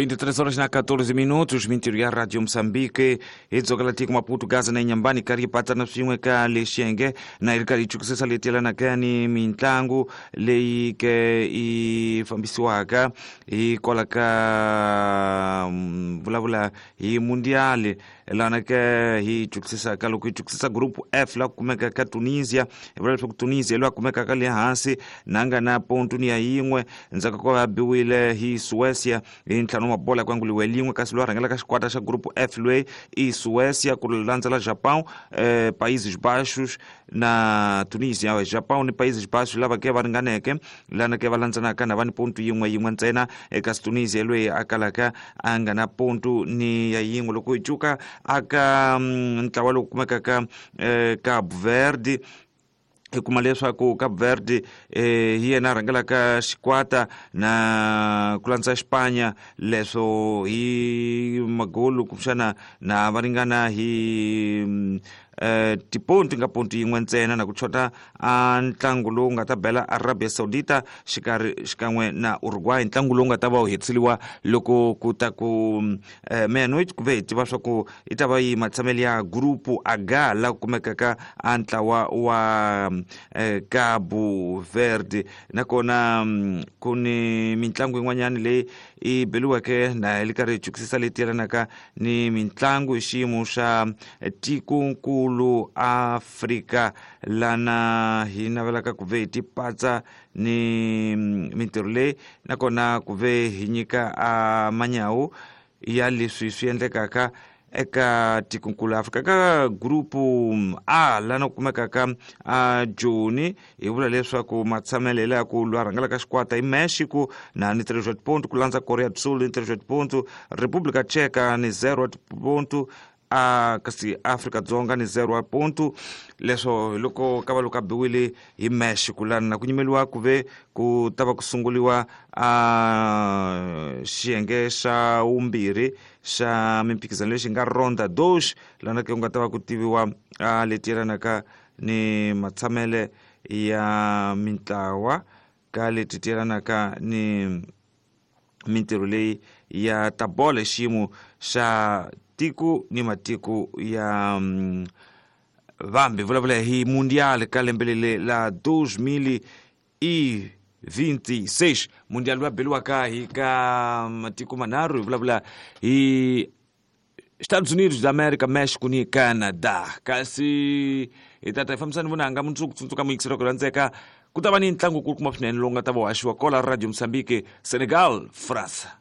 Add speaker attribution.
Speaker 1: 23 horas na 14 minutos, mintirho ya Radio Moçambique hi dzokela tiko Maputo, Gaza na Inhambane karhi yi patsana swin'we ka lexiyenge na yi ri karhi yi chukisisa leti yelanaka ni mitlangu leyi ke yi fambisiwaka hi kwala ka vulavula hi mundial lana ke hi chukisisaka loko hi chukisisa group F la ku kumeka ka Tunisia. Hi vula leswaku Tunisia loyi a kumekaka le hansi na nga na pontu ni ya yin'we ndzhaku ko va biwile hi Suecia hi ntlhanu wa mabola ku anguliwe lin'we, kasi loyi a rhangelaka xikwata xa group F loyi i Suecia, ku landzela Japão, Países Baixos na Tunisia. Japão ni Países Baixos lava ke va ringaneke lana ke va landzenaka na va ni pontu yin'we yin'we ntsena, kasi Tunisia loyi a kalaka a nga na pontu ni ya yin'we. Loko hi cuka aka ntlawa lowu kumekaka Cabo Verde, hi kuma leswaku Cabo Verde hi yena a rhangelaka xikwata na ku landza Xipanya, leswo hi magolu kumbexana na va ringana hi tipontu nga pontu yin'we ntsena, na ku chota a ntlangu lowu nga ta bela Arabia Saudita xikarhi xikan'we na Uruguay, ntlangu lowu nga ta va wu hetiseliwa loko ku ta ku meia-noite, ku ve hi tiva swa ku yi ta va yi matshamelo ya group H la ku kumekaka a ntlawa wa Cabo Verde. Nakona ku ni mitlangu yin'wanyana leyi yi beliweke na yi ri karhi yi chukisisa leti yelanaka ni mitlangu hi xiyimo xa tikonkulu Afrika, lana hi navelaka ku ve hi tipatsa ni mintirho leyi, nakona ku ve hi nyika a manyawu ya leswi swi endlekaka eka tikonkulu Afrika. Ka grupu A lana ku kumekaka a Joni, hi vula leswaku matshamelo hi laha ku lwa rhangelaka xikwata i Mexico na ni 3 wa tipontu, ku landza Korea do Sul ni 3 wa tipontu, República Tcheca ni 0 wa tipontu, a kasi Afrika Dzonga ni 0 wa pontu. Leswo hi loko ka va loko a biwile hi Mexico, lana na ku nyimeliwa ku ve ku ta va ku sunguliwa a xiyenge xa vumbirhi xa mimphikizano lexi nga ronda dos, lana ke ku nga ta va ku tiviwa a leti yelanaka ni matshamele ya mintlawa ka leti ti yelanaka ni mintirho leyi ya ta bolo hi xiyimo xa tiko ni matiko ya vambi. Vulavula hi mundial ka lembe leli la 2026, mundial lowu beliwaka hi ka matiko manharhu, hi vulavula hi Estados Unidos da América, México ni Canada. Kasi hi tata hi fambisani vunanga mundzuku, tsundzuka muyingiseri ku rhandzeka, ku ta va ni ntlangu kulukumba swinene lowu nga ta va haxiwa kola Radio Mozambique, Senegal, França.